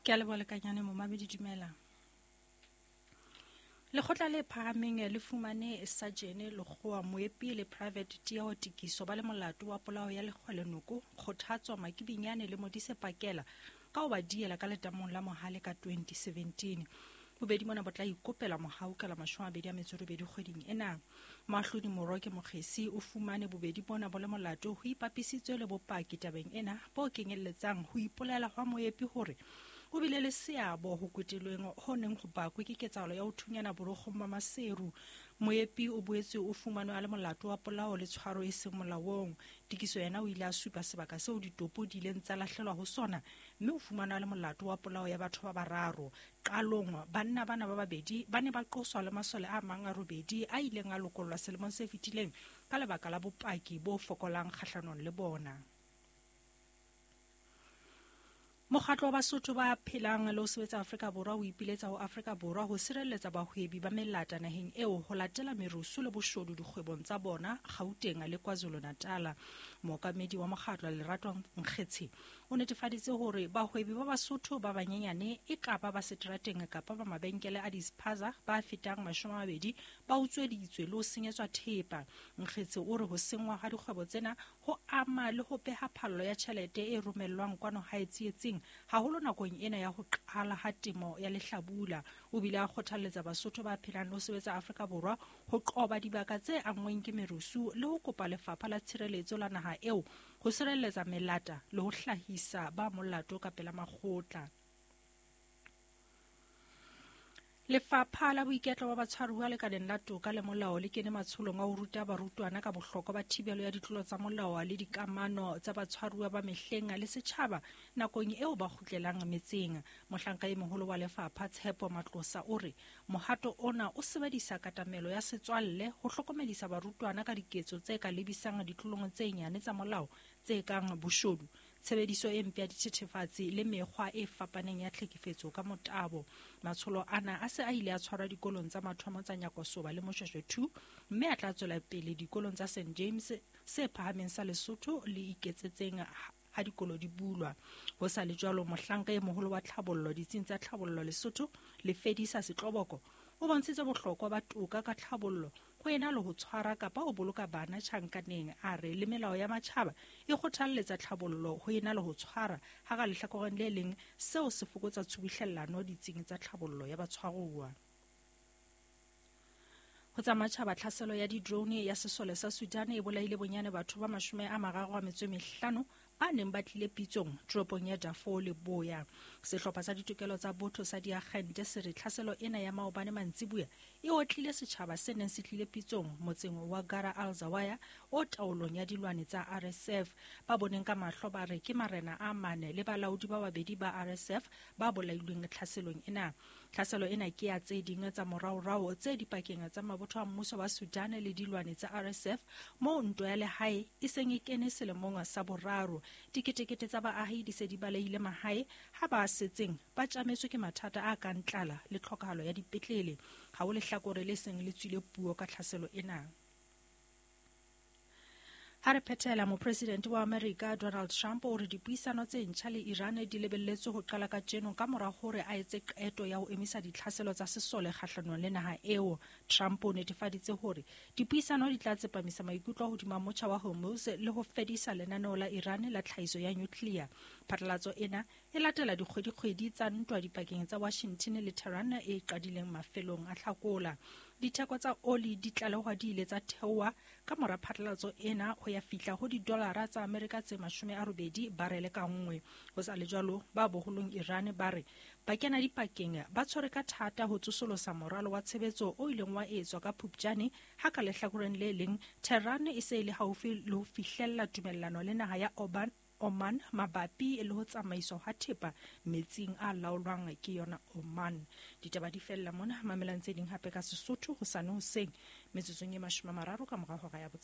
Ke a leboha lekanyane momamedi dumela. Lekgotla le phahameng le fumane Sajene Lekgowa Moepi le Private Tieo Tikiso ba le molato wa polao ya Lekgwele Noko, Kgothatso Makibinyane le Modise Pakela ka ho ba diela ka letamong la Mohale ka 2017. Bobedi mona bo tla ikopela mohau ka la 28 kgweding ena. Moahlodi Moroke Mokgesi o fumane bobedi bona bo le molato ho ipapisitswe le bopaki tabeng ena bo kenyelletsang ho ipolela hwa Moepi hore o bile le seabo ho kwetelweng ho neng ho bakwe ke ketsahalo ya ho thunyana borokgong ba Maseru. Moepi o boetse o fumanwe a le molato wa polao le tshwaro e seng molaong. Tikiso yena o ile a supa sebaka seo ditopo di ileng tsa lahlelwa ho sona mme o fumanwe a le molato wa polao ya batho ba bararo. Qalong, banna bana ba babedi ba ne ba qoswa le masole a mang a robedi a ileng a lokollwa selemong se fetileng ka lebaka la bopaki bo fokolang kgahlanong le bona. Mokgatlo wa Basotho ba phelang le ho sebetsa Afrika Borwa o ipiletsa ho Afrika Borwa ho sireletsa bahwebi ba melata naheng eo ho latela merusu le boshodu dikgwebong tsa bona Gauteng le KwaZulu-Natal. Mookamedi wa mokgatlo Lerato Nkgetshe o netefaditse hore bahwebi ba Basotho ba banyenyane e kaba ba seterateng kapa ba mabenkele a dispaza ba fetang 20 ba utsweditswe le ho senyetswa thepa. Nkgetse o re ho senngwa ha dikgwebo tsena ho ama le ho beha phallo ya tjhelete e romellwang kwano hae tsietsing, haholo nakong ena ya ho qala ha temo ya lehlabula. O bile a kgothalletsa Basotho ba phelang le ho sebetsa Afrika Borwa ho qoba dibaka tse anngweng ke merusu le ho kopa Lefapha la Tshireletso la naha eo ho sireletsa melata le ho hlahisa ba molato ka pela makgotla. Lefapha la Boiketlo ba Batshwaruwa lekaleng la Toka le Molao le kene matsholong a ho ruta barutwana ka bohlokwa ba thibelo ya ditlolo tsa molao le dikamano tsa batshwaruwa ba mehleng le setjhaba nakong eo ba kgutlelang metseng. Mohlanka e moholo wa lefapha Tshepo Matlosa o re mohato ona o sebedisa katamelo ya setswalle ho hlokomedisa barutwana ka diketso tse ka lebisang ditlolong tse nyane tsa molao tse kang boshodu, tshebediso e mpe ya dithethefatsi le mekgwa e fapaneng ya tlhekefetso ka motabo. Matsholo ana a se a ile a tshwarwa dikolong tsa mathomo tsa Nyakosoba le Moshweshwe 2 mme a tla tswela pele dikolong tsa St James se phahameng sa Lesotho le iketsetseng ha dikolo di bulwa. Ho sa le jwalo, mohlanka e moholo wa tlhabollo ditsing tsa tlhabollo Lesotho, Lefedisa Setloboko, o bontshitse bohlokwa ba toka ka tlhabollo ho ena le ho tshwara kapa ho boloka bana tjhankaneng. A re le melao ya matjhaba e kgothalletsa tlhabollo ho ena le ho tshwara, ha ka lehlakoreng le leng seo se fokotsa tshubuhlellano ditsing tsa tlhabollo ya batshwaruwa. Ho tsa matjhaba, tlhaselo ya di-drone ya sesole sa Sudan e bolaile bonyane batho ba 35 ba neng ba tlile pitsong toropong ya Darfur Leboya. Sehlopha sa ditokelo tsa botho sa diagente se re tlhaselo ena ya maobane mantsibuya e otlile setjhaba se neng se tlile pitsong motseng wa Gara al-Zawaya o taolong ya dilwane tsa RSF. Ba boneng ka mahlo ba re ke marena a mane le balaodi ba babedi ba RSF ba bolailweng tlhaselong ena. Tlhaselo ena ke ya tse ding tsa moraorao tse dipakeng tsa mabotho a mmuso wa Sudan le dilwane tsa RSF moo ntwa ya lehae e seng e kene selemong sa boraro. Diketekete tsa baahi di se di balehile mahae ha ba setseng ba tjametswe ke mathata a kang tlala le tlhokahalo ya dipetlele. Ha ho lehlakore le seng le tswile puo ka tlhaselo ena. Ha re phethela, mopresidente wa Amerika Donald Trump o re dipuisano tse ntjha le Iran di lebelletswe ho qala kajeno ka mora hore a etse qeto ya ho emisa ditlhaselo tsa sesole kgahlanong le naha eo. Trump o netefaditse hore dipuisano di tla tsepamisa maikutlo hodima motjha wa Hormuz le ho fedisa lenaneo la Iran la tlhahiso ya nuclear. Phatlalatso ena e latela dikgwedikgwedi tsa ntwa dipakeng tsa Washington le Tehran e qadileng mafelong a Hlakola. Ditheko tsa oli di tlalehwa di ile tsa theoha ka mora phatlalatso ena ho ya fihla ho didolara tsa Amerika tse 80 barele ka nngwe. Ho sa le jwalo, ba boholong Iran ba re ba kena dipakeng ba tshwere ka thata ho tsosolosa moralo wa tshebetso o ileng wa etswa ka Phupjane, ha ka lehlakoreng le leng Tehran e se e le haufi le ho fihlella tumellano le naha ya Oman mabapi le ho tsamaiswa ha thepa metsing a laolwang ke yona Oman. Ditaba di fella mona, mamelang tse ding hape ka Sesotho hosane hoseng metsotsong e 30 ka mora hora ya 6.